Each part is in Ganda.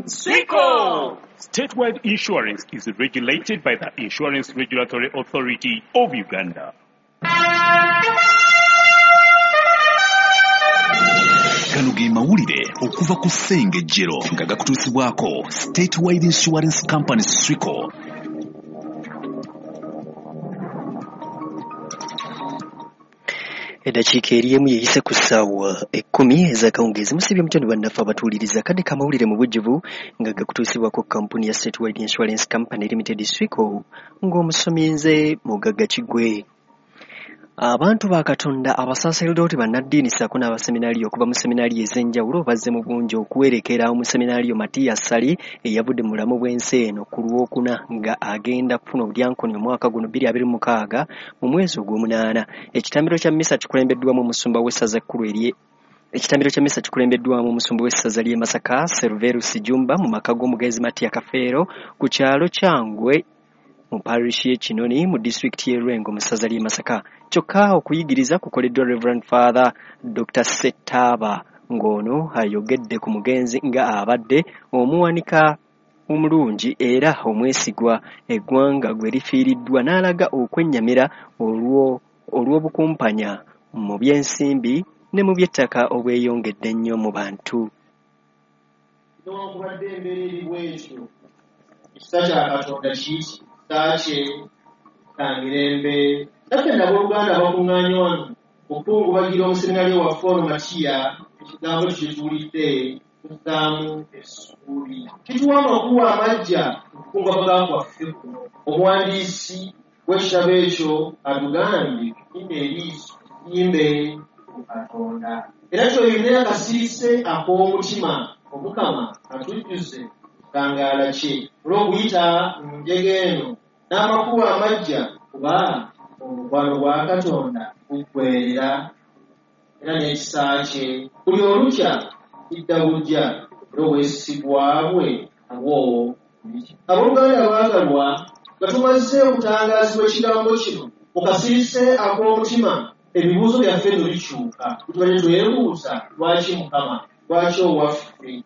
Swico! Statewide Insurance is regulated by the Insurance Regulatory Authority of Uganda. Gano ge mawulire okuva ku Ssengejjero nga gakutuusibwako Statewide Insurance Company Swico. Eddakiika eri emu yeyise ku ssaawa 10 ez'akawungeezi. Musibye mutya ne bannaffe abatuwuliriza. Kadde k'amawulire mu bujjuvu nga gakutuusibwako kampuni ya Statewide Insurance Company Limited Swico, ng'omusomi nze Mugagga Kiggwe. Abantu ba Katonda, abasaserdooti, bannaddiini ssaako n'abaseminaaliyo okuva mu seminaaliyo ez'enjawulo bazze mu bungi okuwerekera omuseminaaliyo Matiya Ssali eyavudde mu bulamu bw'ensi eno ku Lwokuna nga agenda kufuna obudyankoni omwaka guno 2026 mu mwezi ogw'omunaana. Ekitambiro kya mmisa kikulembeddwamu omusumba w'essaza ekkulu erye Ekitambiro kya mmisa kikulembeddwamu omusumba w'essaza ly'e Masaka Serverus Jjumba mu maka g'omugenzi Matiya Kafeero ku kyalo Kyangwe mu parish y'e Kinoni mu disitulikiti y'e Lwengo mu ssaza ly'e Masaka. Kyokka okuyigiriza kukoleddwa Reverend Father Dr. Ssettaaba ng'ono ayogedde ku mugenzi nga abadde omuwanika omulungi era omwesigwa eggwanga gwe lifiiriddwa, n'alaga okwennyamira olw'obukumpanya mu by'ensimbi ne mu by'ettaka obweyongedde ennyo mu bantu. Newankubadde embeera eri bw'etyo, ekisa kya Katonda kiiki kye kya mirembe. Naffe nnabooluganda abakuŋŋaanye wano okukungubagira omuseminariyo waffe ono Matiya, ekigambo kye tuwulidde tuzzaamu essuubi. Kituwa amakubo amaggya okukungubaga kwaffe kuno. Omuwandiisi w'ekitabo ekyo atugambye tutimbe eriiso tutimbe ku Katonda. Era tweyune akasirise ak'omutima, Omukama atujjuze ekitangaala kye olw'okuyita mu njega eno n'amakubo amaggya, kuba omukwano gwa Katonda guggweerera era n'ekisa kye buli olukya kidda bujja, era obwesigwa bwe nabwo. Abooluganda abaagalwa, nga tumaze okutangaazibwa ekigambo kino mu kasirise ak'omutima, ebibuuzo byaffe nno bikyuka. Tubadde twebuuza lwaki Mukama, lwaki owaffe?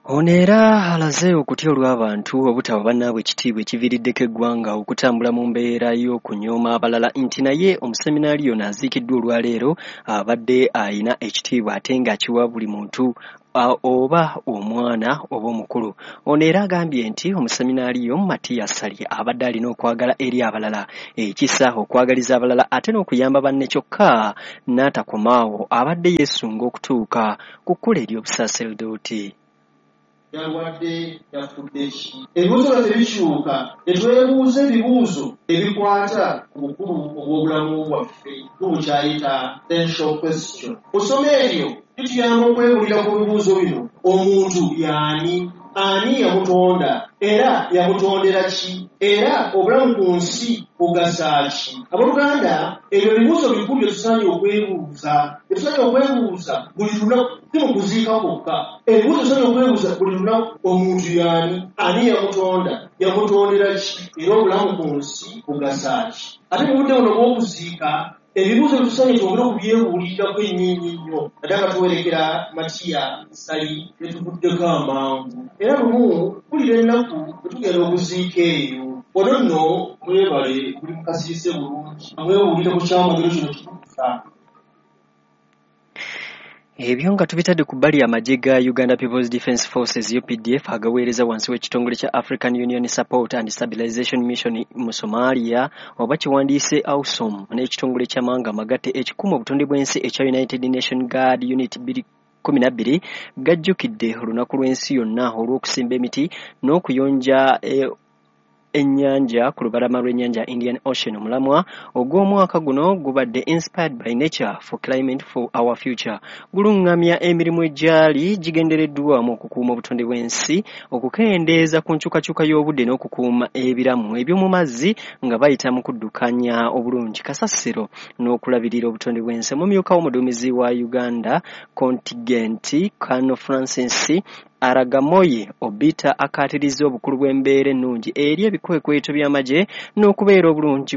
Ono era alaze okutya olw'abantu obutawa bannaabwe ekitiibwa ekiviiriddeko eggwanga okutambula mu mbeera y'okunyooma abalala, nti naye omuseminaaliyo ono aziikiddwa olwaleero abadde ayina ekitiibwa ate ng'akiwa buli muntu oba omwana oba omukulu. Ono era agambye nti omuseminaaliyo Matiya Ssali abadde alina okwagala eri abalala, ekisa, okwagaliza abalala ate n'okuyamba banne, kyokka n'atakomaawo abadde yeesunga okutuuka ku kkula ery'obusaaserdooti. Yalwadde, yafudde ki? Ebibuuzo byaffe bikyuka ne twebuuza ebibuuzo ebikwata ku bukulu obw'obulamu bwaffe, tubukyayita essential question. Mu ssomo eryo lituyamba okwebulira ku bibuuzo bino: omuntu y'ani? Ani yamutonda? Era yamutondera ki? Era obulamu ku nsi bugasa ki? Abooluganda, ebyo ebibuuzo bikulu bye tusaanye okwebuuza, bye tusaanye okwebuuza buli lunaku, si mu kuziika kwokka. Ebibuuzo tusaanye okwebuuza buli lunaku: omuntu y'ani? Ani yamutonda? Yamutondera ki? Era obulamu ku nsi bugasa ki? Ate mu budde buno obw'okuziika, ebibuuzo bye tusaanye twongere okubyebuulirirako ennyo ennyo, naddala nga tuwerekera Matiya Ssali bye tuvuddeko amangu. Era lumu mpulira ennaku bwe tugenda okuziika eyo. Wano nno mwebale muli mu kasirise bulungi, mwebuulire ku kyamagero kino kitukuza. Ebyo nga tubitadde ku bbali, amagye ga Uganda People's Defence Forces UPDF agaweereza wansi w'ekitongole kya African Union Support and Stabilization Mission mu Somalia oba kiwandiise AUSSOM n'ekitongole ky'amawanga amagatte ekikuuma obutonde bw'ensi ekya United Nation Guard Unit 2012 gajjukidde olunaku lw'ensi yonna olw'okusimba emiti n'okuyonja ennyanja ku lubalama lw'ennyanja Indian Ocean. Omulamwa ogw'omwaka guno gubadde "Inspired by Nature for Climate for Our Future", guluŋŋamya emirimu egyali gigendereddwamu okukuuma obutonde bw'ensi, okukendeeza ku nkyukakyuka y'obudde n'okukuuma ebiramu eby'omu mazzi nga bayita mu kuddukanya obulungi kasasiro n'okulabirira obutonde bw'ensi. Omumyuka w'omuduumizi wa Uganda contingent, Colonel Francis Aragamoyi Obita akaatirizza obukulu bw'embeera ennungi eri ebikwekweto by'amagye n'okubeera obulungi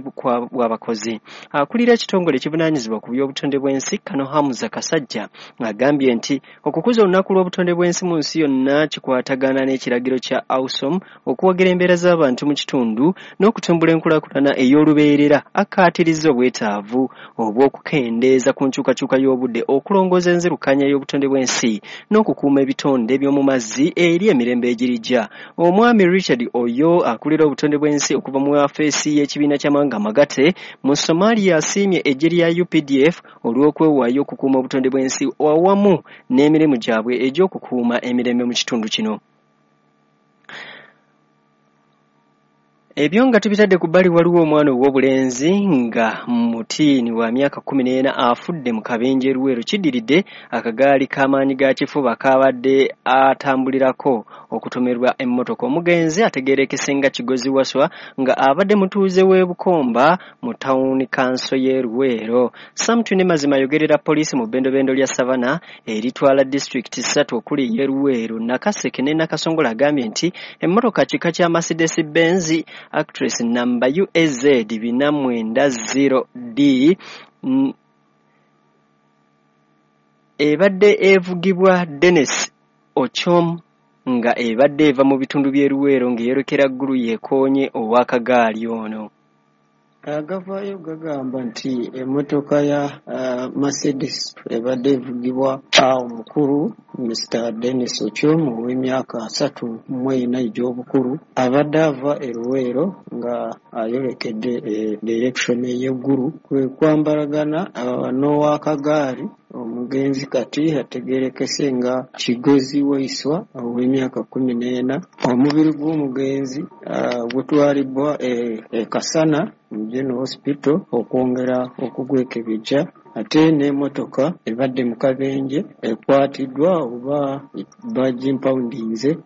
bw'abakozi. Akulira ekitongole ekivunaanyizibwa ku by'obutonde bw'ensi Kano Hamza Kasajja agambye nti okukuza olunaku lw'obutonde bw'ensi mu nsi yonna kikwatagana n'ekiragiro kya AUSOM okuwagira embeera z'abantu mu kitundu n'okutumbula enkulaakulana ey'olubeerera. Akkaatirizza obwetaavu obw'okukendeeza ku nkyukakyuka y'obudde, okulongoosa enzirukanya y'obutonde bw'ensi n'okukuuma ebitonde by'omu mazzi eri emirembe egirijja. Omwami Richard Oyo akulira obutonde bw'ensi okuva mu afeesi y'ekibiina ky'amawanga amagatte mu Somalia asiimye eggye lya UPDF olw'okwewaayo okukuuma obutonde bw'ensi awamu n'emirimu gyabwe egy'okukuuma emirembe mu kitundu kino. Ebyo nga tubitadde ku bbali, waliwo omwana ow'obulenzi nga mutiini wa myaka 14 afudde mu kabenje Luweero. Kiddiridde akagaali k'amaanyi ga kifuba k'abadde atambulirako okutomerwa emmotoka. Omugenzi ategeerekese nga Kigozi Waswa nga abadde mutuuze w'e Bukomba mu tawuni kanso y'e Luweero. Sam Twine Mazima ayogerera poliisi mu bbendobendo lya Savana eritwala disitulikiti 3 okuli ey'e Luweero, Nakaseke ne Nakasongola agambye nti emmotoka kika kya Mercedes Benz Actress namba UAZ 490D ebadde evugibwa Dennis Ochom nga ebadde eva mu bitundu by'e Luweero ng'eyolekera Ggulu yeekoonye ow'akagaali ono. Agavaayo gagamba nti emmotoka ya Mercedes ebadde evugibwa omukulu Mr. Dennis Ochom ow'emyaka 34 egy'obukulu abadde ava e Luweero nga ayolekedde direction ey'eggulu kwe kwambalagana n'owakagaali. Omugenzi kati ategeerekese nga Kigozi Waiswa ow'emyaka 14. Omubiri gw'omugenzi gutwalibwa e Kasana mu General Hospital okwongera okugwekebejja, ate n'emmotoka ebadde mu kabenje ekwatiddwa oba bagimpawundinze.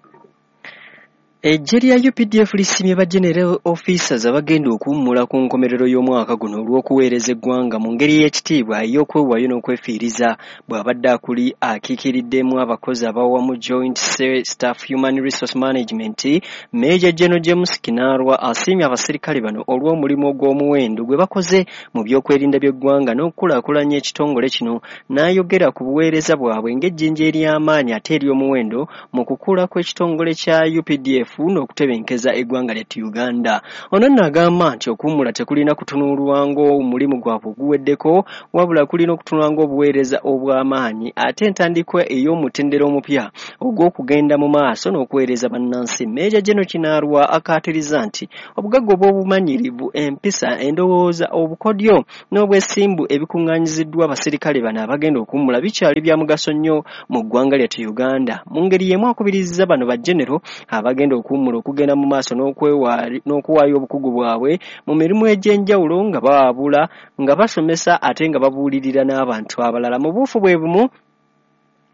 Eggye lya UPDF lisiimye ba General Officers abagenda okuwummula ku nkomerero y'omwaka guno olw'okuweereza eggwanga mu ngeri y'ekitiibwa ey'okwewaayo n'okwefiiriza. Bw'abadde akuli akiikiriddemu abakozi abawamu Joint Staff Human Resource Management, Major General James Kinarwa asiimye abaserikale bano olw'omulimu ogw'omuwendo gwe bakoze mu by'okwerinda by'eggwanga n'okukulaakulanya ekitongole kino, n'ayogera ku buweereza bwabwe ng'ejjinja ery'amaanyi ate ery'omuwendo mu kukula kw'ekitongole kya UPDF n'okutebenkeza eggwanga lyattu Uganda. Ono nno agamba nti okuwummula tekulina kutunuulwa ng'omulimu gwabwe oguweddeko, wabula kulina okutunulwa ng'obuweereza obw'amaanyi ate entandikwa ey'omutendera omupya ogw'okugenda mu maaso n'okuweereza bannansi. Major General Kinarwa akaatiriza nti obugagga obw'obumanyirivu, empisa, endowooza, obukodyo n'obwesimbu ebikuŋŋaanyiziddwa abaserikale bano abagenda okuwummula bikyali bya mugaso nnyo mu ggwanga lyattu Uganda. Mu ngeri y'emu akubirizza bano ba General abagenda okuwummula okugenda mu maaso n'okuwaayo obukugu bwabwe mu mirimu egy'enjawulo nga bawabula, nga basomesa ate nga babuulirira n'abantu abalala. Mu buufu bwe bumu,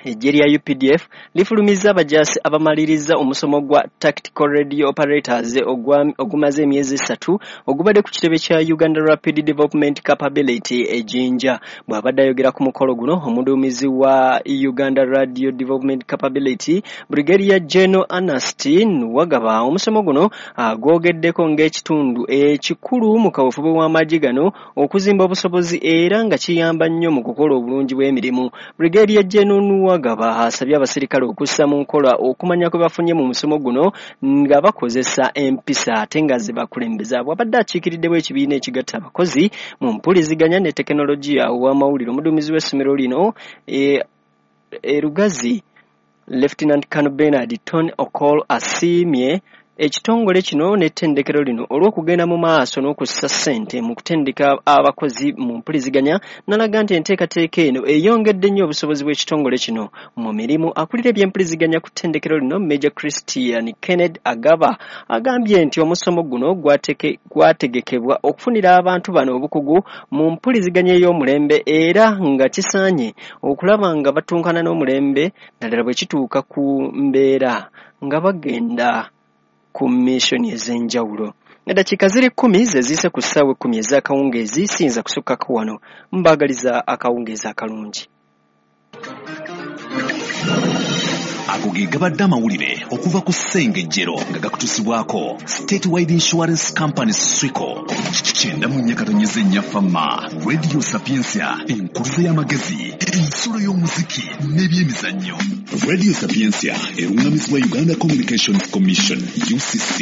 eggye lya UPDF lifulumizza abajaasi abamaliriza omusomo gwa Tactical Radio Operators ogumaze emyezi 3 ogubadde ku kitebe kya Uganda Rapid Development Capability e Jinja. Bw'abadde ayogera ku mukolo guno, omuduumizi wa Uganda Radio Development Capability Brigadier General Ernest Wagaba omusomo guno agwogeddeko ng'ekitundu ekikulu mu kaweefube w'amagye gano okuzimba obusobozi era nga kiyamba nnyo mu kukola obulungi bw'emirimu. Brigadier General Wagaba asabye abaserikale okussa mu nkola okumanya kwe bafunye mu musomo guno nga bakozesa empisa ate nga ze bakulembeza. Bw'abadde akiikiriddewo ekibiina ekigatta abakozi mu mpuliziganya ne tekinologiya ow'amawulire, omuduumizi w'essomero lino e Lugazi Lieutenant Colonel Bernard Tony Okol asiimye ekitongole kino n'ettendekero lino olw'okugenda mu maaso n'okussa ssente mu kutendeka abakozi mu mpuliziganya, n'alaga nti enteekateeka eno eyongedde nnyo obusobozi bw'ekitongole kino mu mirimu. Akulira ebyempuliziganya ku ttendekero lino Major Christian Kenneth Agaba agambye nti omusomo guno gwategekebwa okufunira abantu bano obukugu mu mpuliziganya ey'omulembe era nga kisaanye okulaba nga batunkana n'omulembe naddala bwe kituuka ku mbeera nga bagenda ku mission ez'enjawulo. Eddakiika ziri 10 ze ziyise ku ssaawa 10 ez'akawungeezi, siyinza kusukkako wano. Mbaagaliza akawungeezi akalungi. Ago ge gabadde amawulire okuva ku Ssengejjero nga gakutuusibwako Statewide Insurance Company Swico. 94.4 Fama Radio Sapientia, enkuluze y'amagezi, ensulo y'omuziki n'ebyemizannyo. Radio Sapientia eruŋŋamizibwa Uganda Communications Commission UCC.